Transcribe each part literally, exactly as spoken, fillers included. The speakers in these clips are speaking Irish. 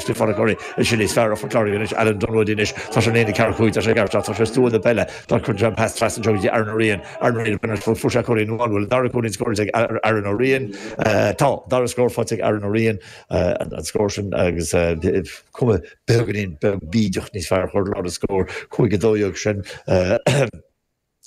Stefan Curry is sin is fearr Phort Láirge anois Alan Dunwoody anois tá sé líne ceathair cúig tá sé ceart tá sé stua na peile tá chun jam pas trasna anseo Aaron O'Riain Aaron O'Riain fuair sé cúilín amháin bhfuil dara cúilín scóráilte ag Aaron O'Riain tá dara scór faighte ag Aaron O'Riain an scór sin agus cuma beagáinín beag bídeach níos fearr chur lá a scór cúig a dó dhéag sin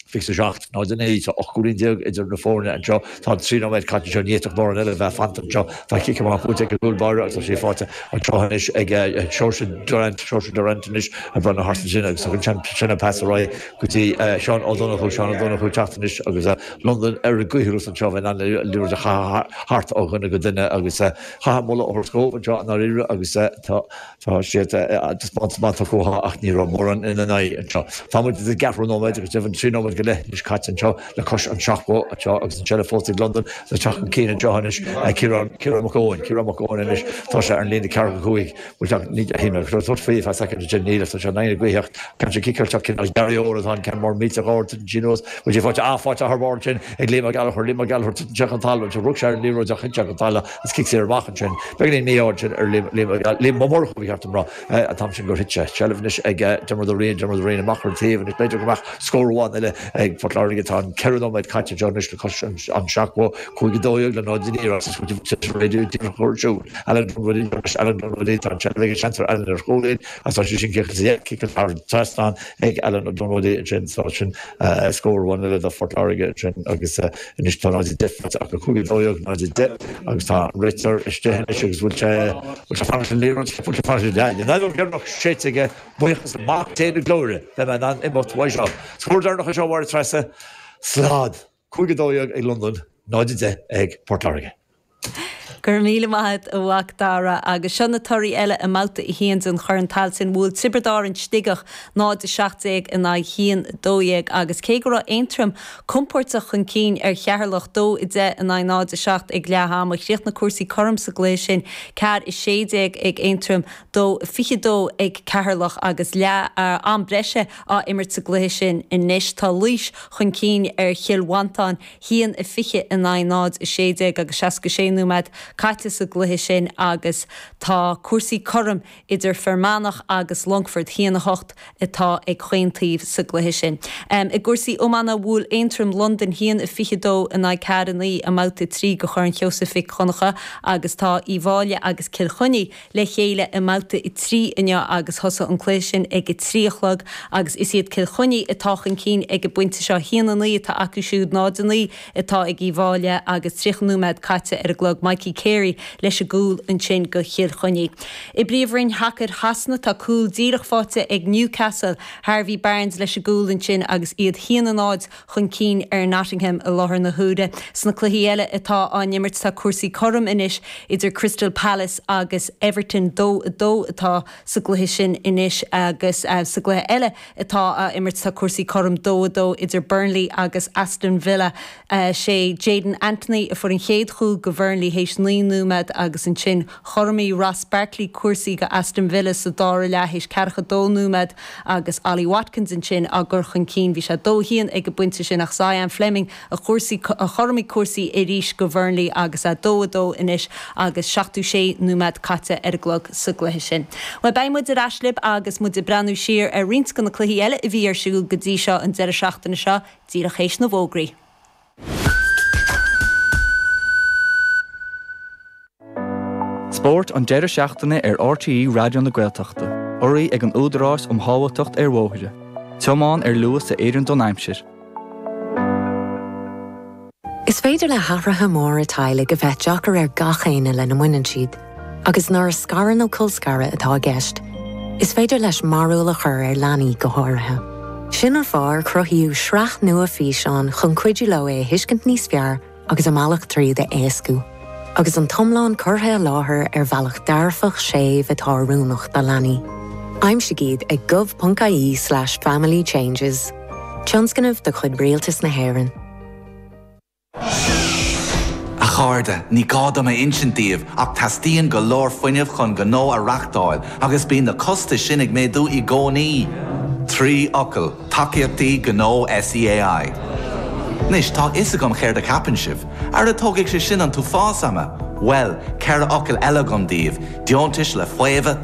fiche a seacht náid a naoi tá ocht gcúilín déag idir na foirne anseo tá trí nóiméad caite anseo ní fhéadfadh mórán eile bheith fanta anseo tá cic amach buaite ag an gcúl báire agus tá sé faighte anseo anois ag Seoirse Durant Seoirse Durant anois ag breathnú thart ansin agus tugann sin an pas ar aghaidh go dtí Seán Ó Donnchú Seán Ó Donnchú teacht anois agus Londain ar a gcoimhthíos anseo bheith in ann liathróid a chaitheamh thart ó dhuine go duine agus chaith moladh a thabhairt dóibh anseo i ndáiríre agus tá tá siad taispeántas maith tugtha uathu ach ní raibh mórán ina n-aghaidh anseo. Tá muid i gceathrú nóiméad agus deimhin trí nóiméad go leith anois caite anseo le cois an seachtó anseo agus an seilbh fós ag Londain le teacht chun cinn anseo anois Ciarán Ciarán Mac Eoin Ciarán Mac Eoin anois tá sé ar an líne ceathracha cúig bhfuil teacht ní shíl mé go raibh tabhairt faoi feadh soicind ansin níl tá sé in aghaidh na gaoithe ceann sin ciceáil cineál Gary atá an ceann mór millteach ard titeann sí anuas bhfuil sé faighte ah faighte thar barr ansin ag Liam Ó Gallchóir Liam Ó Gallchóir titeann sé chun talamh ansin rug sé ar an liathróid ach thit sé chun talamh agus cic saor amach ansin beagáinín mí-ádh ansin ar Liam Liam Liam Ó Murchú ba cheart dom rá an t-am sin gur thit sé seilbh anois ag Diarmuid Ó Riain Diarmuid Ó Riain amach ar an taobh anois b'fhéidir go mbeadh scór amháin eile ag Port Láirge tá an ceithre nóiméad caite anseo anois le cois an seachtó cúig a dó dhéag le náid a naoi agus díreach ar siúl Alan Dunwoody Alan Dunwoody tá an seilbh ag an seantar Alan ar chúilín agus tá sé sin ciceáilte ciceáilte thar an trasnán ag Alan Dunwoody ansin tá sin scór amháin eile do Phort Láirge ansin agus anois tá náid a deich faighte acu cúig a dó dhéag náid a deich agus tá an réiteoir istigh anois agus bhfuil sé bhfuil sé fanacht an liathróid bhfuil sé fanacht an an fheadóg dheireanach séidte aige buíochas le Mac Dé na Glóire beidh mé in ann imeacht uaidh seo. Scór deireanach anseo a Mháire Treasa slad cúig a dó dhéag ag Londain náid a deich ag Port Láirge. Go raibh míle maith agat a Mhac Dara agus seo na torthaí eile i mbabhta a haon den Chorn Tailteann bhuail Tiobraid Árann Sligeach náid a seacht déag in aghaidh haon dó dhéag agus cé go raibh Aontroim compordach chun cinn ar Cheatharlach dó a deich in aghaidh náid a seacht ag leath ama chríochnaigh cúrsaí cothrom sa gcluiche sin ceathair a sé déag ag Aontroim dó fiche dó ag Ceatharlach agus leath am breise á imirt sa gcluiche sin anois tá Laois chun cinn ar Chill Mhantáin haon a fiche in aghaidh náid a sé déag agus seasca sé nóiméad caite sa gcluiche sin agus tá cúrsaí cothrom idir Fear Manach agus Longfort haon a hocht atá ag chaon taobh sa gcluiche sin. I gcúrsaí iomána bhuail Aontroim Londain haon a fiche dó in aghaidh ceathair a naoi i mbabhta trí de Chorn Sheosaimh Mhic Dhonncha agus tá Uíbh Fhailí agus Cill Chainnigh le chéile i mbabhta a trí inniu agus thosaigh an cluiche sin ag a trí a chlog agus is iad Cill Chainnigh atá chun cinn ag an bpointe seo haon a naoi atá acu siúd náid a naoi atá ag Uíbh Fhailí agus tríocha nóiméad caite ar an gclog Mikey Carey leis an gcúl ansin do Chill Chainnigh. I bPríomhroinn Shacair Shasana tá cúl díreach faighte ag Newcastle Harvey Barnes leis an gcúl ansin agus iad haon a náid chun cinn ar Nottingham i láthair na huaire. Sna cluichí eile atá á n-imirt tá cúrsaí cothrom anois idir Crystal Palace agus Everton dó a dó atá sa gcluiche sin anois agus sa gcluiche eile atá á imirt tá cúrsaí cothrom dó a dó idir Burnley agus Aston Villa sé Jaidon Anthony a fuair an chéad chúl do Bhurnley théis naoi nóiméad agus ansin chothromaigh Ross Barkley cúrsaí do Aston Villa sa dara leath théis ceathracha dó nóiméad agus Ollie Watkins ansin á gcur chun cinn bhí sé dó haon ag an bpointe sin ach Zian Flemming a chúrsaí a chothromaigh cúrsaí arís do Bhurnley agus a dó a dó anois agus seachtó sé nóiméad caite ar an gclog sa gcluiche sin. Well beidh muid ar ais libh agus muid ag breathnú siar ar roinnt de na cluichí eile a bhí ar siúl go dtí seo an deireadh seachtaine seo díreach théis na bhfógraí. Spórt an deireadh seachtaine ar RTÉ Raidió na Gaeltachta, urraithe ag an Údarás um Shábháilteacht ar Bhóithre. Tiomáin ar luas a oireann don aimsir. Is féidir le hathruithe móra teaghlaigh a bheith deacair ar gach éinne lena mbaineann siad, agus nuair is scaradh nó colscaradh atá i gceist, is féidir leis mearbhall a chur ar leanaí go háirithe. Sin an fáth ar cruthaíodh sraith nua físeán chun cuidiú leo é a thuiscint níos fearr agus a mbealach tríd a éascú. Agus an t-iomlán curtha i láthair ar bhealach dearfach séimh atá oiriúnach do leanaí. Aimsigh iad ag gov.ie slash family changes. Tionscnamh de chuid Rialtas na hÉireann. A chairde, ní gá dom a insint daoibh ach teastaíonn go leor fuinnimh chun gnó a reáchtáil agus bíonn na costais sin ag méadú i gcónaí. Trí fhocal, tacaíochtaí gnó SEAI. Anois tá a fhios agam céard a cheapann sibh, Ara tógfaidh sé sin an t-uafás ama. Well, ceithre fhocal eile agam daoibh, deontais le faomhadh